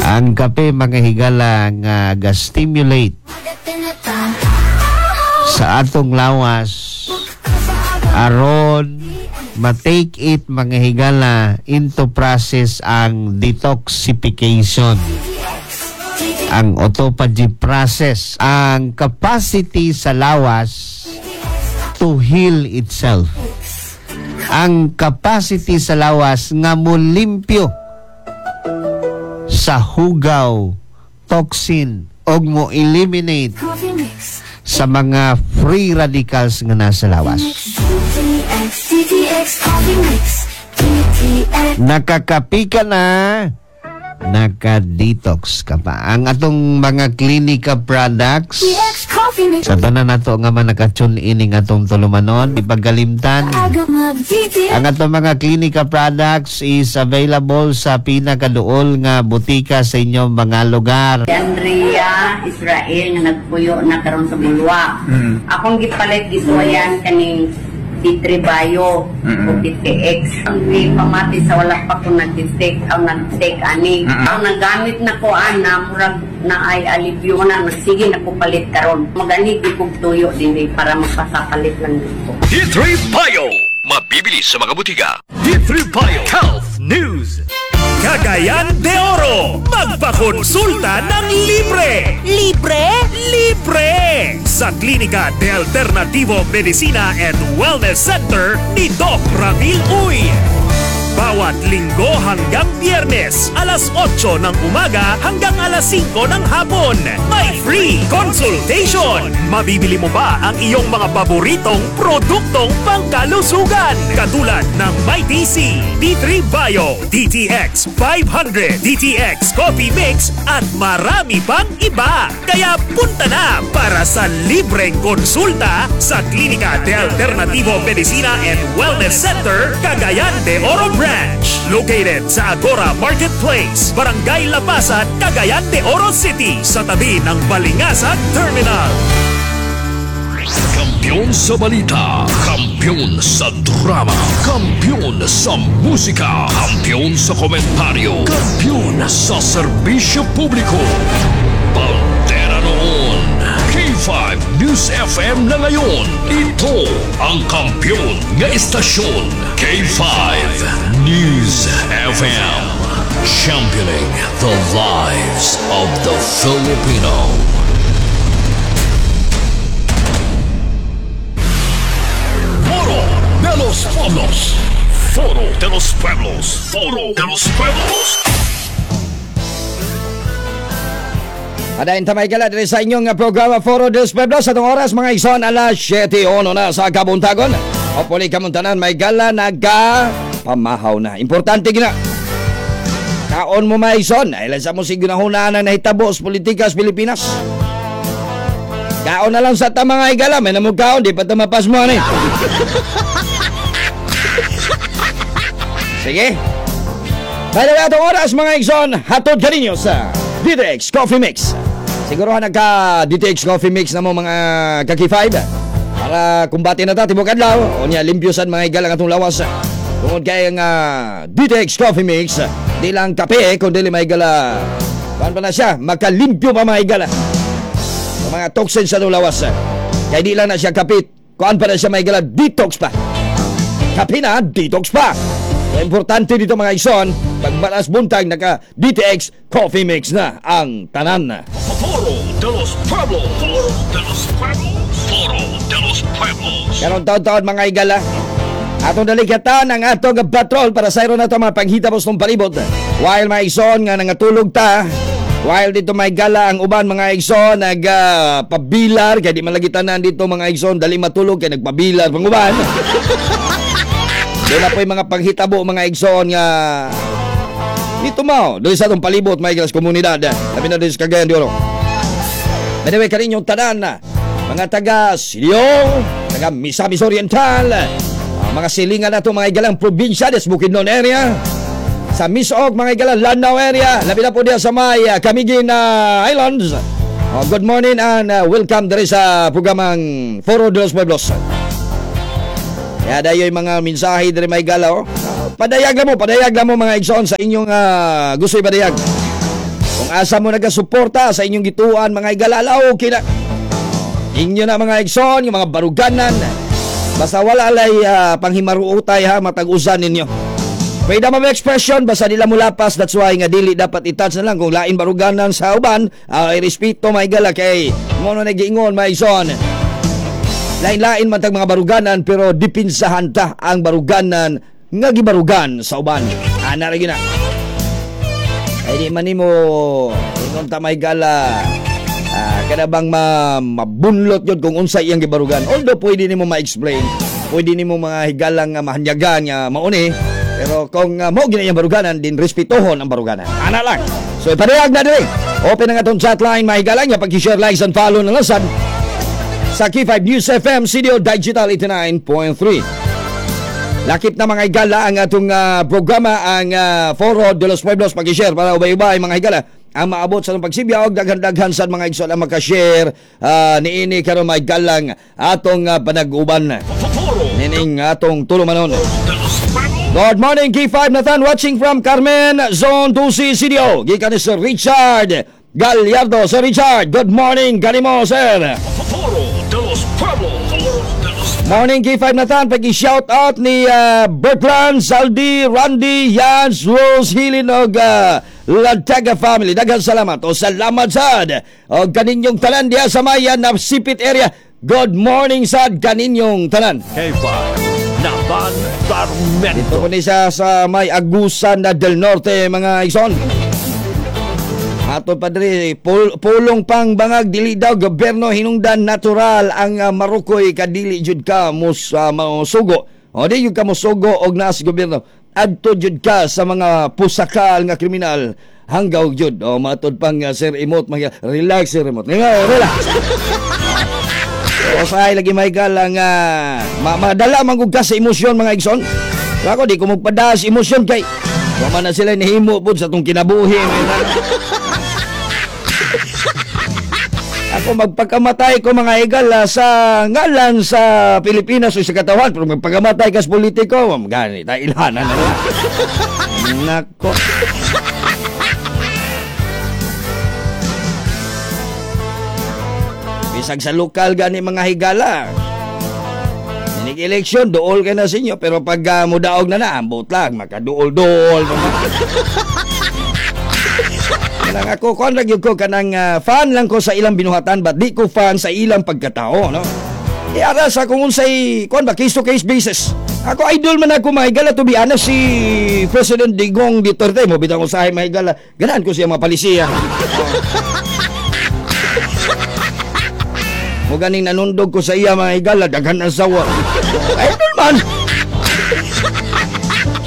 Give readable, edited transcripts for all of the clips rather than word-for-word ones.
Ang kape, mga higala, nga ga-stimulate sa atong lawas aron ma-take it, mga higala, into process ang detoxification, ang autophagy process, ang capacity sa lawas to heal itself, ang capacity sa lawas nga mulimpyo sa hugaw, toxin, og mo eliminate sa mga free radicals nga nasa lawas. Nakakapi ka na, naka-detox ka pa. Ang atong mga Klinika products, sa tanan nato nga man naka-tune in ning atong tulumanon, ipagalimtan. Ang atong mga Klinika products is available sa pinakaduol nga butika sa inyong mga lugar. Si Andrea Israel nga nagpuyo na karon sa Bulwa. Akong gipalit gisuwayan kaning D3 Bio o DTX. Ang gipamati sa wala pa ko nag-take ang nag-take ani. Ang nagamit na ko ana murag na ay alibyo na nagsige na ko palit karon. Magani gyud kog tuyo dinhi para magpasapalit lang dito. D3 Bio, mabibili sa mga butika. D3 Bio Health News. Cagayan de Oro, magpakonsulta ng libre! Libre? Libre! Sa Klinika de Alternativo Medicina and Wellness Center ni Doc Ramil Uy. Bawat Linggo hanggang Biyernes, alas 8 ng umaga hanggang alas 5 ng hapon. May free consultation! Mabibili mo ba ang iyong mga paboritong produktong pangkalusugan? Katulad ng Mighty C, D3 Bio, DTX 500, DTX Coffee Mix at marami pang iba. Kaya punta na para sa libreng konsulta sa Klinika de Alternativo Medicina and Wellness Center, Cagayan de Oro Branch. Located sa Agora Marketplace, Barangay Lapasan, Cagayan de Oro City, sa tabi ng Balingasag Terminal. Kampiyon sa balita, kampiyon sa drama, kampiyon sa musika, kampiyon sa komentaryo, kampiyon sa serbisyo publiko. Bandera noon, K5 News FM na ngayon. Ito ang kampiyon nga istasyon. K5 News FM. Championing the lives of the Filipino. Foro de los Pueblos. Foro de los Pueblos. Foro de los Pueblos. Padayon ta may gala diri sa inyong programa Foro de los Pueblos. Atong oras mga ison, alas 7:01 na sa kabuntagon. Hopefully kamuntanan may gala naga pamahaw na. Importante gina. Kaon mo mga ison, ay lang sa mo sig ginahunaan ang nahitabo sa politika sa Pilipinas. Kaon na lang sa ta mga igala, may namog kaon, di pa ta mapas mo ani. Sige. By the way, atong oras mga igsoon, hatod kaninyo sa DTX Coffee Mix. Siguro nagka DTX Coffee Mix na mo mga kaki 5 para kumbate na ta tibok adlaw. O niya limpyosan mga igalang atong lawas. Tungod kay ang DTX Coffee Mix, di lang kape kundi mga igala. Kuan pa na siya, makalimpyo pa mga igala. Sa mga toxins sa atong lawas. Kay di lang na siya kapit, kuan pa na siya mga igala, detox pa. Kape na, detox pa. So, importante dito mga ison, pag balas buntag, naka DTX Coffee Mix na ang tanan. Foro de los Pueblos. Foro de los Pueblos. Foro de los Pueblos. Karon taon-taon mga igala, atong dalikatan ang atong patrol para sa na ito mga panghitabo sa palibot. While mga ison nga nangatulog ta, while dito may gala ang uban mga igsoon nagpabilar, kaya di man lagi tanan dito mga igsoon, dali matulog kaya nagpabilar pang uban. Doon na po yung mga panghitabo mga igsoon nga dito mao, doon sa atong palibot mga igsoon komunidad. Labi na doon sa Cagayan de Oro. Anyway, kaninyong tanan, mga taga Silio, taga Misamis Oriental, mga silingan na ito mga igalang probinsya des Bukidnon area, sa Misog mga igalang Lanao area, labi na po diya sa may Camiguin Islands. Good morning and welcome diri sa programang Foro de los Pueblos. Kaya dayo yung mga mensahe diri may galaw. Padayag lang mo mga igsoon sa inyong gusto ipadayag. Kung asa mo nagasuporta sa inyong gituan mga higala, ala, okay na. Inyo na mga igsoon, yung mga baruganan. Basta wala lay panghimaruotay ha, matag-usan ninyo. Freedom of expression, basta nila mulapas, that's why nga dili dapat i-touch na lang kung lain baruganan sa uban, irespeto mga higala kay mo no nagiingon mga igsoon. Lain-lain man tag mga baruganan pero dipinsahan ta ang baruganan nga gibarugan sa uban. Ana ra gyud na. Ay di man nimo ingon ta may gala. Kada bang mabunlot yun kung unsay iyang gibarugan. Although pwede nimo ma-explain, pwede nimo mga higalang nga mahanyagan nga mauni, pero kung mao gina iyang baruganan, din respetuhon ang baruganan. Ana lang. So ipadayag na diri. Open ang atong chat line mga higala nga pag-share, likes and follow na lang sad sa K5 News FM CDO Digital 89.3. Lakip na mga higala ang atong programa ang Foro de los Pueblos, pag-share para ubay-ubay mga higala ang maabot sa atong pagsibya og daghan-daghan sa mga igsoon ang makashare niini karon mga higalang atong panag-uban nining atong tulumanon. Good morning K5 Nathan, watching from Carmen Zone 2C CDO. Gikan ni Sir Richard Gallardo. Sir Richard, good morning kanimo sir. Morning K5 Nathan, pag-shout out ni Bertrand, Saldi, Randy, Jans, Rose, Hilin og Lantaga family. Daghang salamat. O salamat sad. O kaninyong tanan diha sa Maya na Sipit area. Good morning sad kaninyong tanan. K5 Nathan Darmento. Dito ko ni siya sa may Agusan na del Norte mga igsoon. Ato padre, pulong pang bangag dili daw gobyerno hinungdan natural ang marukoy kadili jud ka mus masugo. O di jud ka mosugo og naa sa gobyerno. Adto jud ka sa mga pusakal nga kriminal hanggaw jud. O matod pang Sir Imot, mga relax Sir Imot. Nga relax. O say lagi may galang madala man gud ka sa emosyon mga igsoon. Ako di ko magpada sa emosyon kay wa man na sila nihimo pud sa tong kinabuhi. Ako magpakamatay ko mga higala sa ngalan sa Pilipinas o sa katawan, pero magpakamatay ka sa politiko, gani tayo ilhanan na lang. Nako. Bisag sa lokal gani mga higala. Inig eleksyon, duol ka na sa inyo, pero pag mudaog na na, ambot lang, makaduol-duol. Kanang ako, kuan ra gyud ko kanang fan lang ko sa ilang binuhatan, but di ko fan sa ilang pagkatao, no? E ara sa kung unsay kuan ba, case to case basis. Ako idol man ako mga higala, to be honest, si President Digong Duterte mo bitang usahay mga higala, ganahan ko siya mga palisiya. Mo ganing nanundog ko sa iya mga higala, daghan ang sawa. Idol man.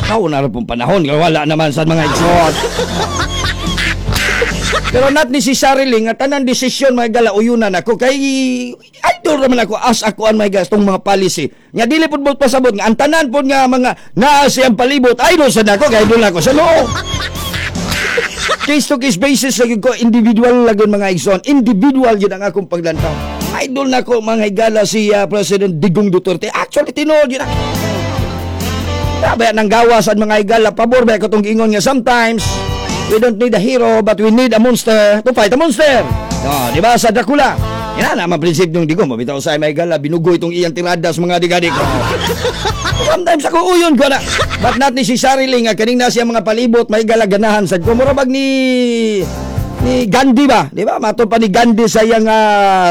Kao na ra pong panahon, wala naman sa mga igsoon. Pero not necessarily nga tanan desisyon mga higala uyunan ako kay idol raman ako as ako ang mga higala tong mga policy. Nga dili pud mo pasabot nga ang tanan pud nga mga naa siyang palibot idol sad ako kay idol ako sa loob. Case to case basis lagi ko, individual lagi mga igsoon, individual yun ang akong paglantaw. Idol na ko mga higala si President Digong Duterte. Actually tinuod yun. Grabe nang gawas ang mga higala, pabor ba ko tong giingon nga sometimes we don't need a hero but we need a monster to fight a monster. No, di ba sa Dracula? Yan na naman prinsipyo ng Digong. Mabitaw sa mga higala, binugo itong iyang tirada sa mga digadik. Sometimes ako uyon ko na. But not necessarily nga kaning na siya mga palibot may higala ganahan sad ko. Mura bag ni Gandhi ba? Di ba? Matod pa ni Gandhi sa iyang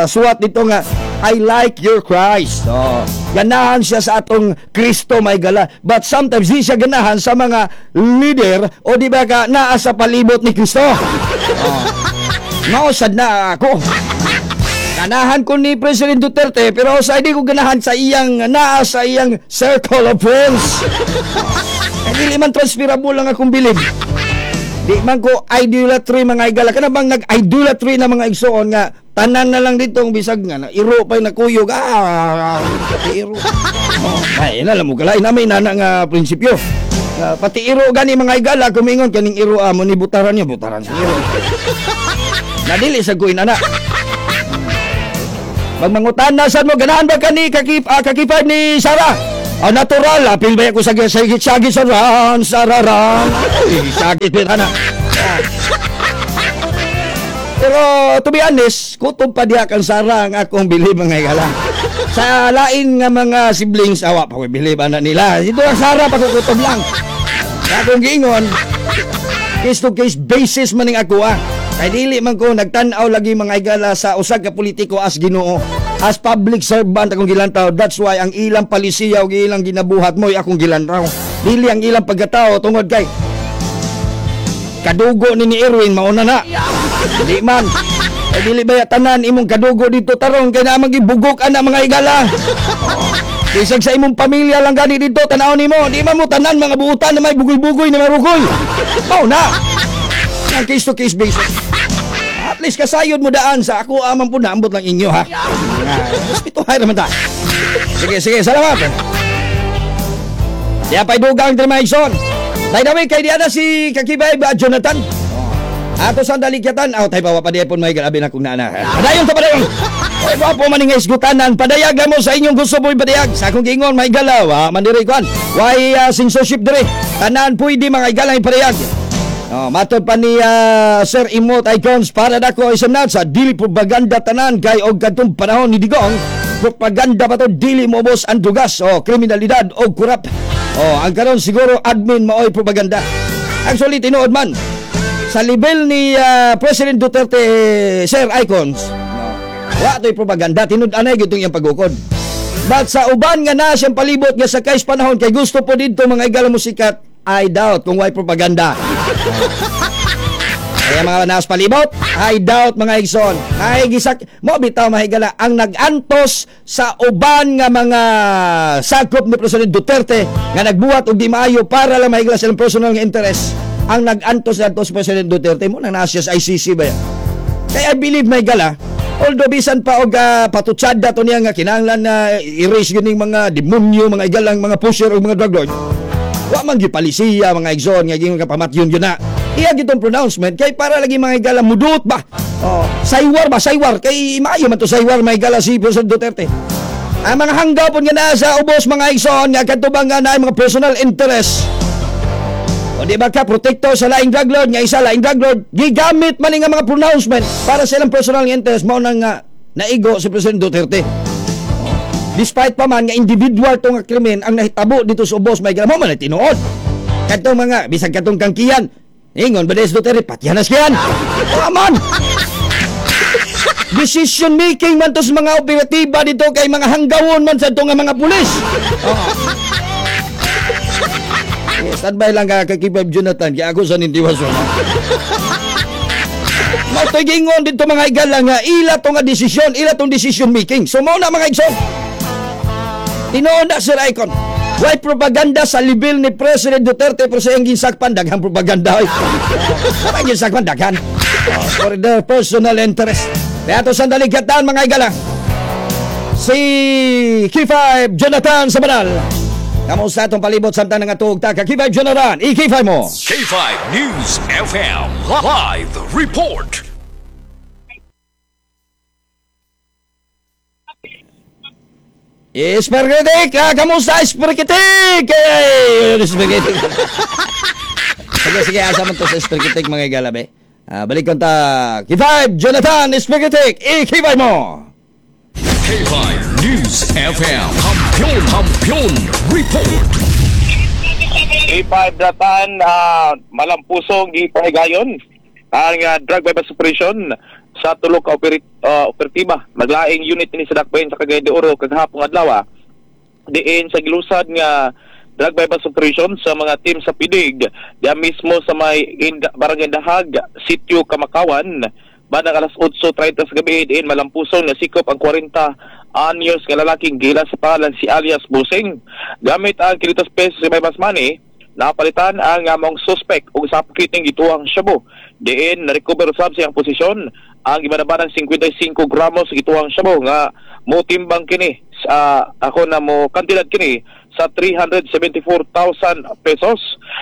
suwat dito nga I like your Christ. So, ganahan siya sa atong Kristo may gala. But sometimes di siya ganahan sa mga leader o di ba ka naa sa palibot ni Kristo. Oh. Mausad na ako. Ganahan ko ni President Duterte pero sa hindi ko ganahan sa iyang naa sa iyang circle of friends. Dili man transferable lang akong bilib. Di man ko idolatry mga higala. Kana bang nag-idolatry na mga igsoon nga tanan na lang dito ang bisag nga na iro pa nakuyog. Pati iro. Oh, ay na mo kalay na may nana nga prinsipyo. Pati iro gani mga higala kumingon kaning iro amo ni butaran niya butaran sa iro. Nadili sa kuin ana. Pag mangutan na sad mo ganahan ba kani kakipad ni Sara? Ah, natural, apil ba ko sa sagi sa ran, sararan. Ay, sakit ba na. Pero to be honest, kutob pa diha kang Sara ang akong bilib, mga higala. Sa lain nga mga siblings, awa pa ko bilib ana nila. Dito ang Sara pa kutob lang. Sa akong giingon, case to case basis man ning ako ah. Kay dili man ko nagtan-aw lagi, mga higala, sa usa ka politiko as Ginoo. As public servant akong gilantaw. That's why ang ilang palisiya ug ilang ginabuhat mo akong gilantaw. Dili ang ilang pagkatao tungod kay kadugo ni Erwin, mauna na. Dili man. Ay, dili ba tanan imong kadugo dito tarong kay naa magibugok ana, mga higala. Bisag sa imong pamilya lang gani dito tan-aw nimo, di man mo tanan mga buutan na may bugoy-bugoy na marugoy. Mao na. Ang case to case basis. At least kasayod mo daan sa ako amang po na ambot lang inyo ha. Respetuhay naman ta. Sige, sige, salamat. Diya pa'y dugang diri, mga igsoon. By the way, kay diya na si Kakibay ba, Jonathan. Ato sa dalikyatan, aw tayo pa pa pon may grabe na kung naana. Padayon ta, padayon. Oy, gwapo man nga isgutanan, padayag lang mo sa inyong gusto mo ipadayag. Sa akong giingon, may galaw, ha, man diri kwan. Why censorship diri? Tanan pwede, mga igalang, ipadayag. Oh, matod pa ni Sir Imot Icons, para dako isang sa dili propaganda tanan kay og kadtong panahon ni Digong propaganda pa to, dili mo ubos ang dugas o kriminalidad o kurap. Oh, ang karon siguro admin maoy propaganda. Actually, tinuod man sa level ni President Duterte, Sir Icons, no, wa to'y propaganda, tinud anay gitong iyang pagukod. But sa uban nga na siyang palibot nga sa kais panahon kay gusto po dito, mga igala, mo sikat, I doubt kung why propaganda. Kaya mga naas palibot, I doubt, mga igsoon. Ay gisak mo bitaw, mga higala, ang nag-antos sa uban nga mga sakop ni President Duterte nga nagbuhat og di maayo para lang mahigala silang personal nga interest. Ang nag-antos adto si President Duterte mo nang naa siya sa ICC ba ya? Kaya I believe, may gala, although bisan pa og patutsada to niya nga kinahanglan na erase yun ning mga demonyo, mga igalang mga pusher o mga drug lord. Wa man gyud palisiya, mga igsoon, nga gingon ka pamatyon yun na. Iya gitong pronouncement kay para lagi, mga higala, mudut ba? Oh, saywar ba, saywar kay maayo man to saywar, mga higala, si President Duterte. Ang mga hanggaw pud nga naa sa ubos, mga igsoon, nga kadto ba nga naay mga personal interest. O di ba ka protector sa laing drug lord nga isa laing drug lord, gigamit man nga mga pronouncement para sa ilang personal nga interest, mao nang nga naigo si President Duterte. Despite pa man nga individual to nga krimen ang nahitabo dito sa ubos, may mo man ay tinuod. Kadtong mga bisag kadtong kangkiyan, ingon ba des Duterte patyan na siyan. Aman. Decision making man to sa mga operatiba dito kay mga hanggawon man sa nga mga pulis. Oh. Standby lang ka kay Kipab Jonathan kay ako sa nintiwason. Mao to'y gingon dito, mga higala, nga ila to nga desisyon, ila tong decision making. So mao na, mga igsoon. Tinuod na, Sir Icon. Why propaganda sa level ni President Duterte, pero sa iyang ginsakpan daghang propaganda oy. Ang ginsakpan daghan. Oh, for their personal interest. Kaya to sandali kataan, mga higala. Si K5 Jonathan Sabanal. Kamusta atong palibot samtang nga ta ka K5 Jonathan? I-K5 mo. K5 News FM Live Report. Esperkitik! Ah, kamusta, Esperkitik? Hey, Esperkitik. Sige, sige, asa man to sa Esperkitik, mga higala, be. Ah, balik kon ta. K5 Jonathan Esperkitik, i-K5 mo. K5 News FM. Kampiyon, Kampiyon Report. A5 Datan, malampusong gipahigayon ang drug bypass operation sa tulo ka operatiba. Maglaing unit ni sa Dakbayan sa Cagayan de Oro kagahapon adlaw. Diin sa gilusad nga drug bypass operation sa mga team sa PIDG diya mismo sa may Barangay Dahag, Sitio Kamakawan, bandang alas 8:30 sa gabi, diin malampusong nasikop ang 40 anyos nga lalaking gila sa pangalan si alias Busing. Gamit ang 500 pesos sa bypass money, napalitan ang among suspect og sa kiting gituang shabu. Diin na-recover usab sa iyang posisyon ang gibanabanang 55 gramos sa gituang shabu nga motimbang kini sa ako na mo kantidad kini sa 374,000 pesos.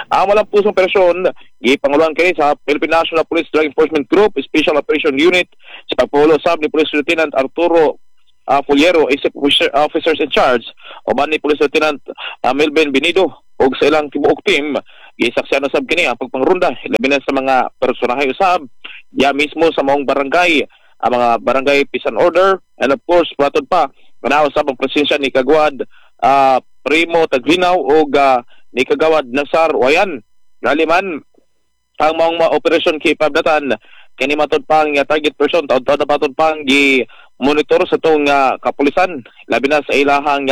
Ang walang pusong operasyon gipanguluhan kini sa Philippine National Police Drug Enforcement Group Special Operation Unit sa pagpulo sab ni Police Lieutenant Arturo Fuliero, Executive Officers in Charge, uban ni Police Lieutenant Melvin Benido ug sa ilang tibuok team. Gisaksihan usab kini ang pagpangrunda labi na sa mga personahe usab Ya mismo sa maong barangay, ang mga barangay peace and order, and of course matod pa manaw sa presensya ni Kagawad Primo Taglinaw og ni Kagawad Nasar Wayan. Galiman ang maong mga operasyon kay Pabdatan kini matod pa ang target person taud-taud na matod pa ang gi monitor sa tong kapulisan, labi na sa ilahang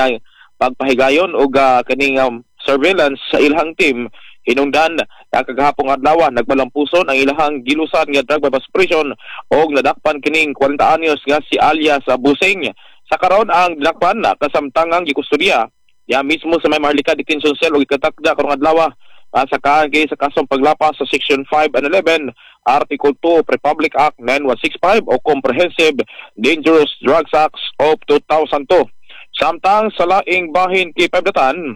pagpahigayon og kaning surveillance sa ilahang team. Hinungdan na kagahapong adlaw nagmalampuson ang ilahang gilusan nga drug bypass operation og nadakpan kining 40 anyos nga si alias Busing. Sa karon ang dinakpan kasamtangang gikustodiya ya mismo sa may Maharlika Detention Cell og ikatakda karong adlaw sa kaan kay sa kasong paglapas sa Section 5 and 11, Article 2 of Republic Act 9165 o Comprehensive Dangerous Drugs Act of 2002. Samtang sa laing bahin kay Pabdatan,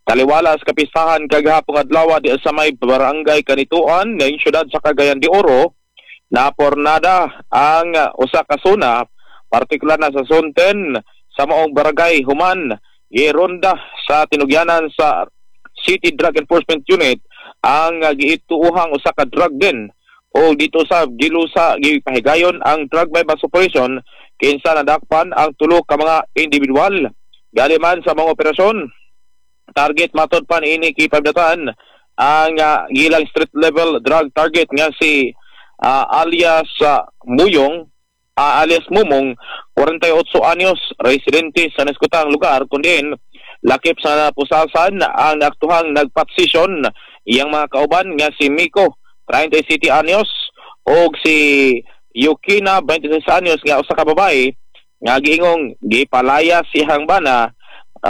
taliwala sa kapistahan kagahapong adlaw di sa may barangay Kanituan ng siyudad sa Cagayan de Oro, napornada ang usa ka zona, partikular na sa Zone 10 sa maong barangay, human gironda sa tinugyanan sa City Drug Enforcement Unit ang giituuhang usa ka drug den o dito sa gilusa gipahigayon ang drug bypass operation kinsa nadakpan ang tulo ka mga individual. Galiman sa mga operasyon, target matod pa niini kipabdatan ang gilang street level drug target nga si alias Muyong, alias Mumong, 48 anyos, residente sa Neskutang lugar, kundi lakip sa pusasan ang naaktuhang nagpatsisyon iyang mga kauban nga si Miko, 37 anyos, og si Yukina, 26 anyos, nga usa ka babae nga giingong gipalaya siyang bana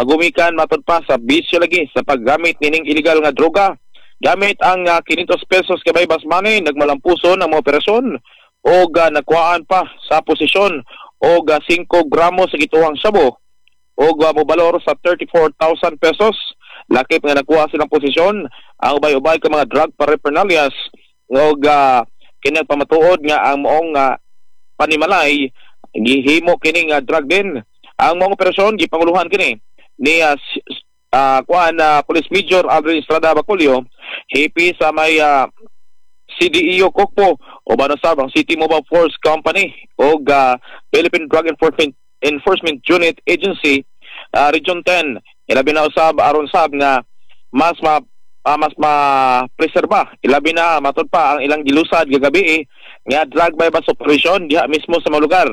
gumikan matod pa sa bisyo lagi sa paggamit nining illegal nga droga. Gamit ang 500 pesos kay bypass money, nagmalampuson ang mga operasyon og nakuhaan pa sa posisyon og 5 gramos sa gituhang sabo og mobalor sa 34,000 pesos. Lakip nga nakuha silang posisyon ang ubay-ubay ka mga drug paraphernalias og kini pamatuod nga ang moong panimalay gihimo kining drug din. Ang moong operasyon gipanguluhan kini ni kuan Police Major Aldrin Estrada Baculio, hipi sa may CDEO Kokpo o banasab ang City Mobile Force Company og Philippine Drug Enforcement Unit Agency Region 10. Ilabi na usab aron sab nga mas ma preserba ilabi na matod pa ang ilang gilusad gagabi nga drug bypass operation diha mismo sa mga lugar.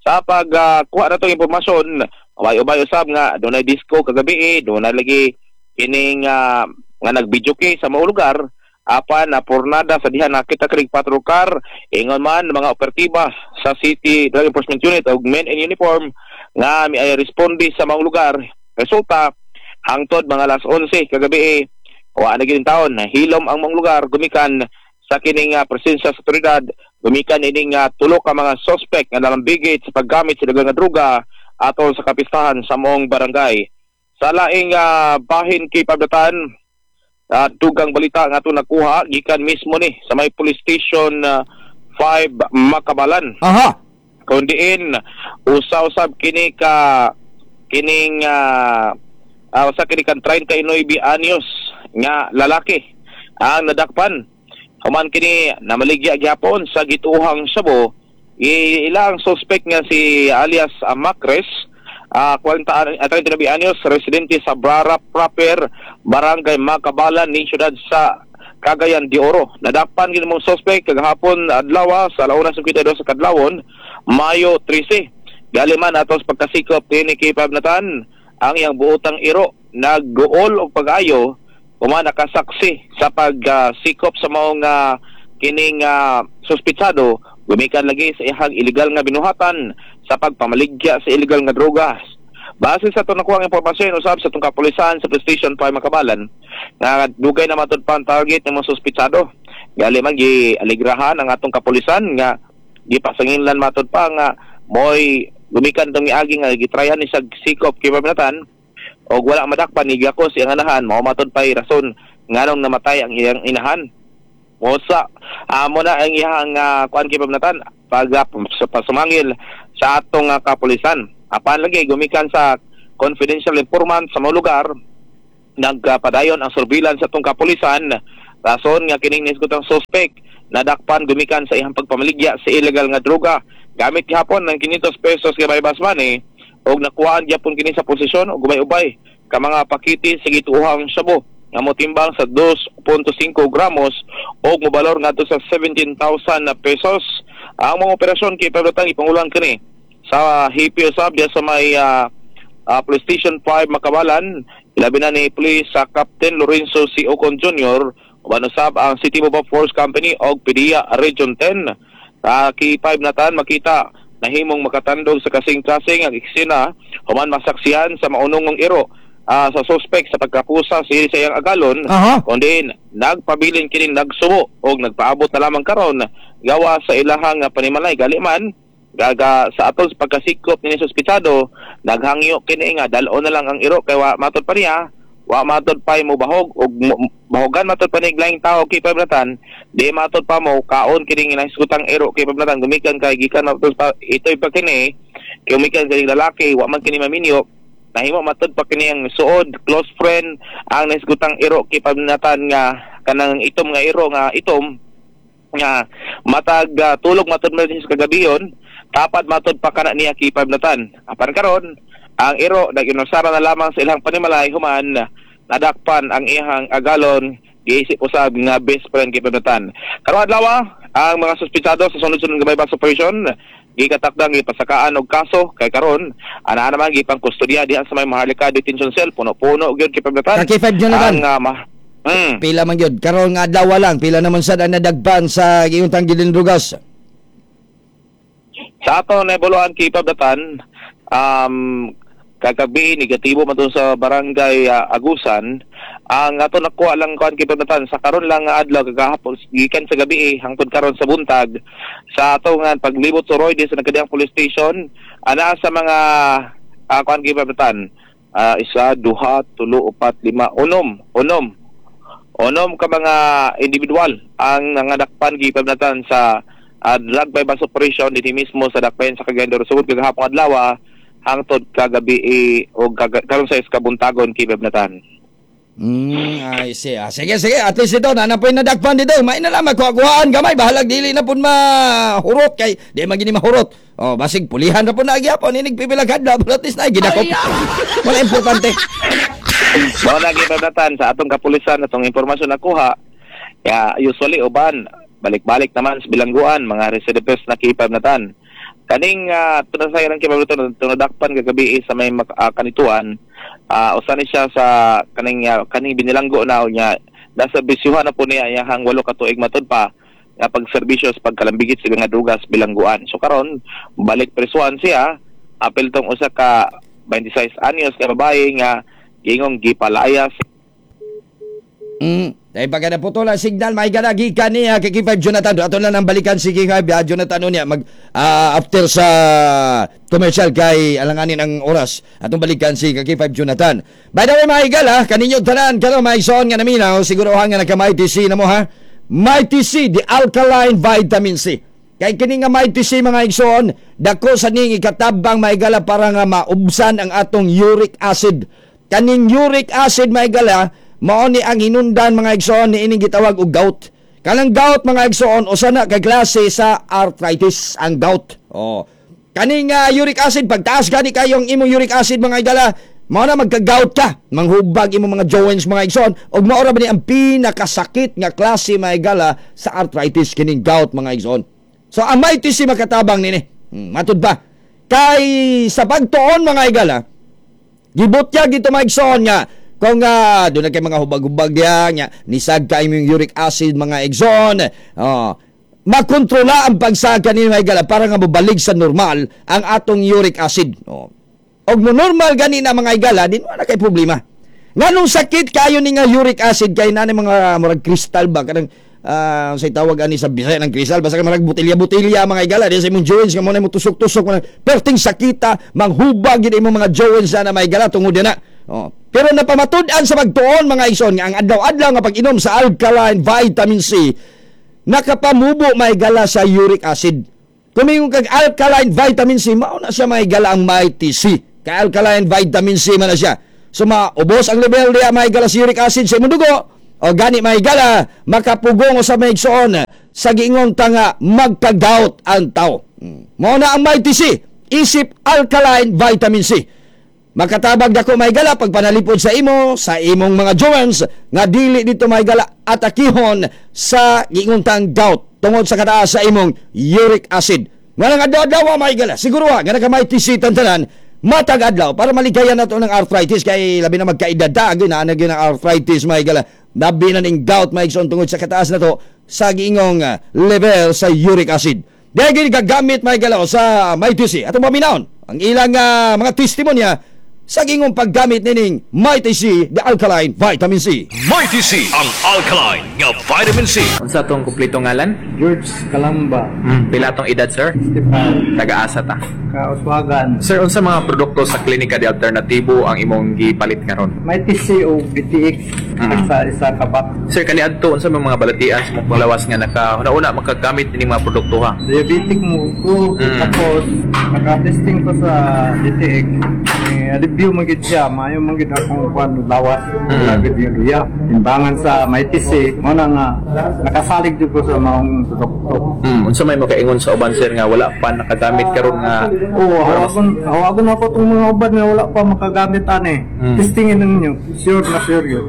Sa pag kuha na tong impormasyon, ubay-ubay usab nga dunay disco kagabi, dunay lagi kining nga nag-video kay sa mga lugar, apan na pornada sa diha nakita kring patrol car, ingon man mga operatiba sa City Drug Enforcement Unit og men in uniform nga miay responde sa mga lugar. Resulta hangtod mga alas 11 kagabi, wa na gid taon hilom ang mga lugar gumikan sa kining presensya sa otoridad, gumikan ining tulo ka mga suspect nga nalambigit sa paggamit sa daghang droga atol sa kapistahan sa moong barangay. Sa laing bahin kay Pabdatan, dugang balita nga ato nakuha gikan mismo ni sa may police station 5 Makabalan. Aha. Kundiin usa-usab kini ka kining usa kini kan 39 anyos nga lalaki ang nadakpan. Human kini namaligya gyapon sa gituhang sabo. Ilang suspect nga si alias Macres, 39 anyos, residente sa Brara Proper, Barangay Makabalan, ning siyudad sa Cagayan de Oro. Nadakpan gid mong suspect kagahapon adlaw sa alauna sa 52 sa kadlawon, Mayo 13. Galiman atos pagkasikop kini kay Pabnatan ang iyang buotang iro nagguol og pag-ayo uma nakasaksi sa pagsikop sa maong kining suspitsado gumikan lagi sa iyang illegal nga binuhatan sa pagpamaligya sa illegal nga droga. Base sa itong nakuha ang impormasyon usab sa itong kapulisan sa Police Station 5 Makabalan nga dugay na matud pa ang target ng mga suspitsado. Gali man gialigrahan ang atong kapulisan nga gipasanginlan matud pa nga moy gumikan tong miagi nga gitrayan ni sa sikop kay Pabnatan og wala madakpan ni gakos iyang anahan, mao matud pay rason nganong namatay ang iyang inahan. Mosa amo na ang iyang kuan kay Pabnatan pag pasumangil sa atong kapulisan. Apan lagi gumikan sa confidential informant sa mga lugar, nagpadayon ang surveillance sa atong kapulisan. Rason nga kining nisgutang suspect Nadakpan gumikan sa iyang pagpamaligya sa illegal nga droga. Gamit gihapon ng 500 pesos nga buy-bust money og nakuhaan gyapon kini sa posisyon og ubay-ubay ka mga pakiti sa gituohang shabu nga motimbang sa 2.5 gramos og mobalor ngadto sa 17,000 na pesos. Ang mga operasyon kay Pablo ipangulan kini sa Hipio usab diya sa may Police Station 5 Makabalan, ilabi na ni Police sa Captain Lorenzo C. Ocon Jr. uban usab ang City Mobile Force Company og PDEA Region 10. Sa K5 natan makita nahimong makatandog sa kasing-kasing ang eksena human masaksihan sa maunongong iro sa suspect sa pagkapusa sa iyang agalon. Kundi nagpabilin kini nagsubo og nagpaabot na lamang karon gawa sa ilahang panimalay. Gali man gaga sa atol sa pagkasikop ni suspitsado, naghangyo kini nga dal-on na lang ang iro kay wa matod pa niya, wa matod pa mo bahog og bahogan matod pa ni laing tao kay pablatan, di matod pa mo kaon kini nga nahisgutang iro kay pablatan gumikan kay gikan matod pa itoy pa kini kay gumikan kini lalaki wa man kini maminyo, nahimo matod pa kini ang suod close friend ang nahisgutang iro kay pablatan nga kanang itom nga iro nga itom nga matag tulog matod man sa kagabiyon, tapat matod pa kana niya kay pablatan. Apan karon ang iro nag-inusara na lamang sa ilang panimalay human nadakpan ang iyang agalon giisip usab nga best friend kay pablatan. Karong adlaw ang mga suspitsado sa sunod-sunod nga buy-bust operation gikatakdang gipasakaan og kaso kay karon ana naman gipang kustodiya diha sa may Maharlika Detention Cell, puno-puno gyud kay pablatan. Kay 5 Jonathan. Ang Pila man gyud karon nga adlaw lang, pila naman sad ang nadagpan sa giuntang gilindrugas? Sa ato naibuluan kay pablatan, kagabi negatibo man sa barangay Agusan. Ang ato nakuha lang kuan kay pablatan sa karon lang nga adlaw kagahapon gikan sa gabi hangtod karon sa buntag sa ato nga paglibot sa Roy sa nagkadiyang police station ana sa mga kuan kay pablatan, isa, duha, tulo, upat, lima, unom ka mga individual ang nangadakpan kay pablatan sa drug buy-bust operation dinhi mismo sa Dakbayan sa Cagayan de Oro. Sugod kagahapon adlaw hangtod kagabi o karon sa kabuntagon kay pablatan. I see. Sige, sige. At least ito, nanapoy na dakpan dito. May na lang, magkuha-kuhaan gamay. Bahalag dili na po mahurot. Kay, di man gini mahurot. O, basig, pulihan na po na agyapon. Inig pipilag hadla. But at least na, ginakop. Wala importante. Mao na gipablatan sa atong kapulisan, atong impormasyon nakuha. Ya, usually, uban, balik-balik naman sa bilangguan, mga recidivist na kipablatan. Kaning tunasay ng kipablatan, tunadakpan kagabi sa may kanituan, usa ni siya sa kaning kaning binilanggo na niya nasa bisyuhan na po niya iyahang 8 ka tuig matud pa nga pagserbisyo sa pagkalambigit sa mga drugas bilangguan. So karon balik presuhan siya apil tong usa ka 26 anyos nga babae nga giingong gipalayas. Dahil pagka naputol ang signal, may ganagi ka niya kay K5 Jonathan. Ato lang ang balikan si K5 Jonathan niya mag after sa commercial kay alanganin ang oras. Atong balikan si K5 Jonathan. By the way, mga higala, kaninyo tanan karon mga igsoon nga naminaw, siguro nga nagka Mighty C na mo ha. Mighty C, the alkaline vitamin C. Kay kini nga Mighty C mga igsoon, dako sa ning ikatabang mga higala para nga maubsan ang atong uric acid. Kaning uric acid mga higala, mao ni ang hinundan mga igsoon ni ining gitawag og gout. Kanang gout mga igsoon usa na ka klase sa arthritis ang gout. Oh. Kaning uric acid pagtaas gani kayong imong uric acid mga igala, mao na magka-gout ka, manghubag imong mga joints mga igsoon ug mao ra ba ni ang pinakasakit nga klase mga igala sa arthritis kining gout mga igsoon. So ang Mighty C makatabang nini. Matud ba? Kay sa pagtuon mga igala, gibutyag ito mga igsoon nga kung doon na kay mga hubag-hubag diya, nga, nisag kayo yung uric acid mga igsoon, oh, makontrola ang pagsaka ni mga igala para nga mabalik sa normal ang atong uric acid. Oh. Og mo normal gani na mga igala, din wala kay problema. Nganong sakit kayo ni nga uric acid kay nani mga murag kristal ba kanang say tawag ani sa Bisaya ng kristal basta kay murag botelya-botelya mga igala diya sa imong joints nga mo na mo tusok-tusok perting sakita manghubag gid imong mga joints na mga igala tungod na. Oh. Pero napamatud-an sa pagtuon mga igsoon nga ang adlaw-adlaw nga pag-inom sa alkaline vitamin C nakapamubo maigala sa uric acid. Kumingon kag alkaline vitamin C mao na siya maigala ang Mighty C. Kay alkaline vitamin C man na siya. So maubos ang level diya maigala sa uric acid sa imong dugo. O gani, mga higala, makapugong sa mga igsoon sa giingon ta nga magka-gout ang tao. Mao na ang Mighty C, isip alkaline vitamin C. Makatabag dako, mga higala, pagpanalipod sa imo, sa imong mga joints nga dili dito, mga higala, atakihon sa giingon tang gout tungod sa kataas sa imong uric acid. Nga nang adlaw-adlaw, mga higala, siguro ha, nga naka Mighty C tantanan, matag adlaw para maligayan nato ng arthritis kay labi na magkaedad ta, na na gyud ang arthritis, mga higala. Labi na ning gout, mga igsoon, tungod sa kataas na to sa giingong level sa uric acid. Dahil gagamit, mga higala, sa Mighty C. Atong paminawon ang ilang mga testimonya sa giingong paggamit nining Mighty C, the alkaline vitamin C. Mighty C, ang alkaline nga vitamin C. Unsa tong kumpleto ngalan? George Kalamba. Pila tong edad, sir? 65. Taga-asa ta? Kauswagan. Sir, unsa mga produkto sa Klinika de Alternatibo ang imong gipalit karon? Mighty C o BTX sa isa ka box. Sir, kaniadto unsa may mga balatian sa imong panglawas nga naka una makagamit ining mga produkto ha? Diabetic mo ko. Tapos, naka-testing ko sa DTX. Eh, review man gid siya, maayo man gid akong kuan lawas. Gid yung luya. Timbangan sa Mighty C, mo na nga nakasalig jud ko sa maong produkto. Unsa may makaingon sa uban, sir, nga wala pa nakagamit karon nga? Oo, hawagon ako itong mga uban nga wala pa makagamit ani. Testingin ninyo, sure na sure yun.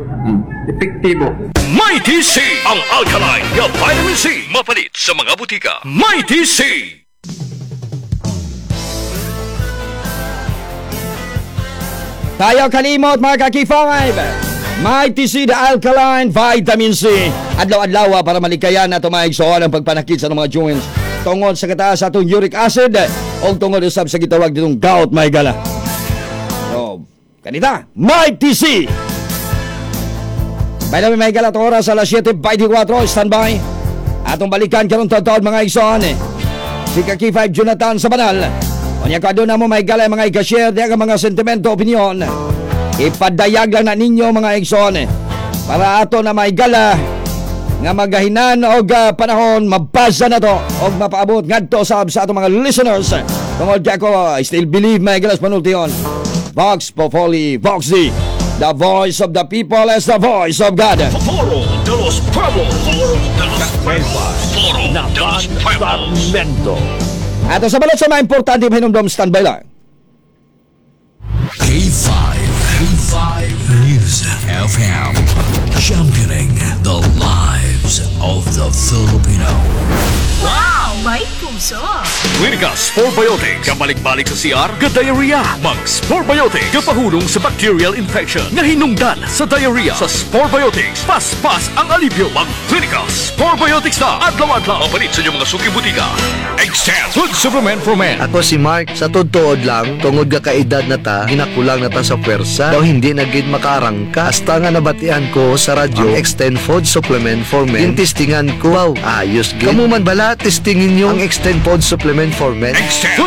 Epektibo. Mighty C, ang alkaline nga vitamin C. Mapalit sa mga butika. Mighty C. Tayo kalimot, mga kaki-5. Mighty C, the alkaline vitamin C. Adlaw-adlaw para malikayan na mga igsoon ang pagpanakit sa mga joints tungod sa kataas sa atong uric acid o tungod usab sa gitawag ditong gout, mga higala. So, kanita, Mighty C. By the way, mga higala, itong oras alas 7:24, standby. Atong balikan karon taon mga igsoon. Si Kaki 5 Jonathan sa banal. Unya ka na mo, mga higala, mga ika-share diya ka mga sentimento, opinion. Ipadayag lang na ninyo, mga igsoon. Para ato na maigala nga magahinan og panahon mabasa na to og mapaabot ngadto sab sa atong mga listeners. Tungod kay ako I still believe, mga higala, sa panultihon. Vox Populi Vox Dei. The voice of the people is the voice of God. Foro de los Pueblos. Foro de los Pueblos. Foro de los Pueblos. Ato sa balot sa mga importante pahinumdom, standby lang. K5, K5 News FM. Championing the lives of the Filipino. Wow! May puso! Klinika Sporebiotic. Kabalik-balik sa CR, ga-diarrhea. Mag Sporebiotic. Kapahulong sa bacterial infection. Nga hinungdan sa diarrhea. Sa Sporebiotics, paspas ang alibyo. Mag Klinika Sporebiotics na. Adlaw-adlaw. Mapalit sa inyong mga suki butika. Extend Food Supplement for Men. Ako si Mark, sa tutuod lang, tungod ga kaedad na ta, ginakulang na ta sa pwersa, daw hindi na gid makarangka. Hasta nga nabatian ko sa radyo, ang Extend Food Supplement for Men. Gintistingan ko, wow, ayos gid. Kamu man bala, testingin nyo ang Extend Food Supplement for Men. Extend Food